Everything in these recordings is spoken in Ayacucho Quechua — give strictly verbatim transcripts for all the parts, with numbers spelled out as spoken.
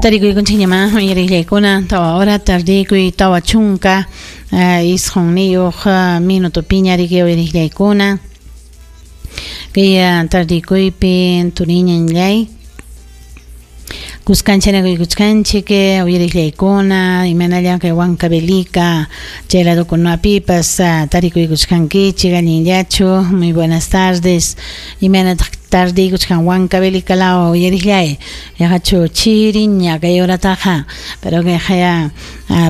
Tarikuykunchikñamá uyariqllaykuna tawa hora tardikuy tawa chunka isqunniyuq minutopiña riki uyariqllaykuna kay tardikuypi turiñanllay kuskancharakuykuchkanchik uyariqllaykuna imanalla kay Huancavelica chay ladokunapipas tarikuykuchkankichik allinllachu. Muy buenas tardes. Imanataq tardiykuchkan Huancavelica law uyariqllay yaqachu chiriña kay horataqa pero kayqa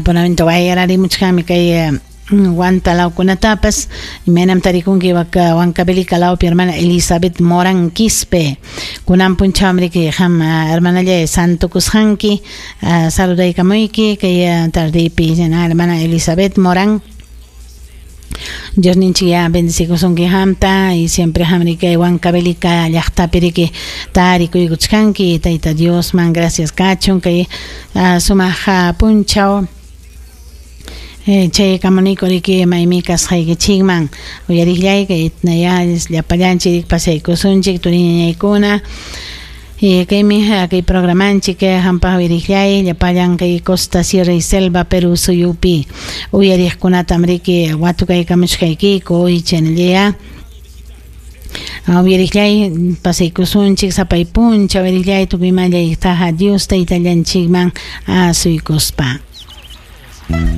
punamanta wayrarimuchkanmi kay Huanta lawkunatapas. Imaynam tarikunki Huancavelica lawpi hermana Elizabeth Morán Quispe kunan punchawmi riki qam hermanallay santukusqanki saludaykamuyki kay tardiypi hermana Elizabeth Morán. Dios ninchik ya bendecikusunki qamta y siempre qam riki Huancavelica llaqtapi riki tarikuykuchkanki Tayta Diosman gracias kachun kay sumaq punchaw chay kamuniko riki maymi kasqaykichikman uyariqllay kay ya llapallanchik pasaykusunchik turiñañaykuna kaymi kay programanchik hampaq uyariqllay llapallan kay Costa, Sierra y Selva Perú suyupi uyariqkunatam riki watukaykamuchkaykiku chaynalla uyariqllay pasaykusunchik sapay punchaw uyariqllay tukuy imallaytaqa Dios taytallanchikman asuykuspa.